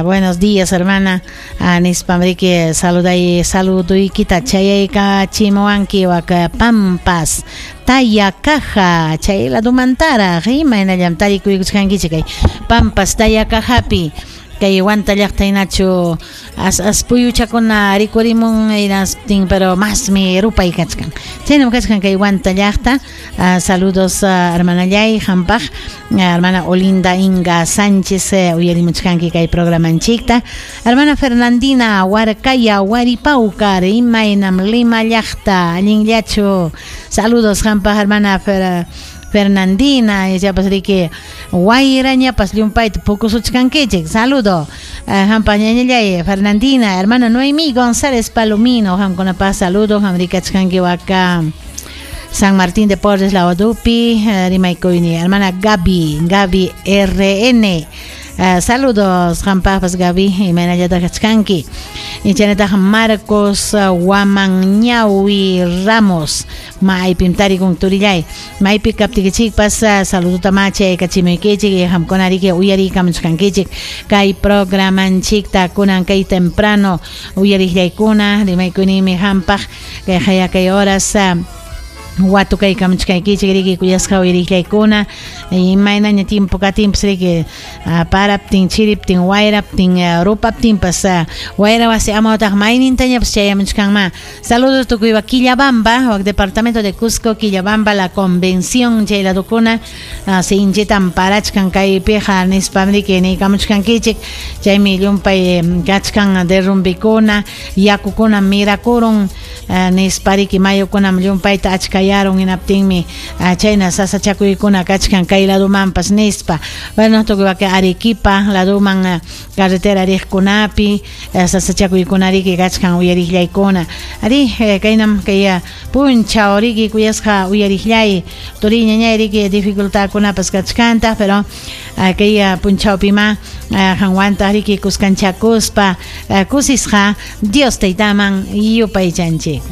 Buenos días, hermana. Nispam riki saluday saluduykita chayaykachimuwanki wak Pampas Tayacaja chay ladumantaraq imaynallam tarikuykuchkankichik kay Pampas Tayacajapi kay Huanta llaqta hinachu as as puyuchakuna rikurimun hinastin pero masmi rupay kachkan chaynam kachkan kay Huanta llaqta. Saludos, hermanallay, hampaq hermana Olinda Inga Sánchez, uyarimuchkanki kay programanchikta. Hermana Fernandina Huarcaya Huaripaucar, imaynam Lima llaqta, allinllachu? Saludos hampaq, hermana Fernandina, ichapas riki wayrañapas llumpayta pukusuchkankichik. Saludo hampa ñañallay Fernandina. Hermana Noemí González Palomino, hamkunapaq saludo, ham rikachkanki waka San Martín de Porres Laudupi, rimaykuyni. Hermana Gaby, Gaby RN. Saludos, hampaqpas, Gaby, imaynallataq kachkanki? Chaynataq Marcos Guamanñawi Ramos, maypim tarikun turillay? Maypi kaptikichikpas saludota ma chaykachimuykichik. Hamkuna riki uyariykamuchkankichik kay programanchikta kunan kay temprano. Uyariqllaykuna, rimaykunimi hampaq kay haya kay horas watukaykamuchkaykichik riki kuyasqa uyariqllaykuna. Imaynaña tiempo katinpas riki paraptin, chiriptin, wayraptin, rupaptinpas, wayra wasi amawtaq maynintañapas chayamuchkanma. Saludos tukuy Quillabamba, wak departamento de Cusco, Quillabamba, la Convención, chay ladukuna sinchitan parachkan kaypiqa nispam riki niykamuchkankichik. Chaymi llumpay kachkan derrumbikuna, yakukuna mirakurun nispa riki, mayukunam llumpayta achkayarun, hinaptinmi chayna sasachakuykuna kachkan kay ladumanpas nispa. Bueno, tukuy waka Arequipa laduman carretera riqkunapi sasachakuykuna riki kachkan, uyariqllaykuna. Ari, kaynam kay punchaw riki kuyasqa uyariqllay, turi ñañay, riki dificultadkunapas kachkantaq, pero kay punchawpima qanwantaq riki kuskanchakuspa kusisqa Dios Taytaman yupaychanchik.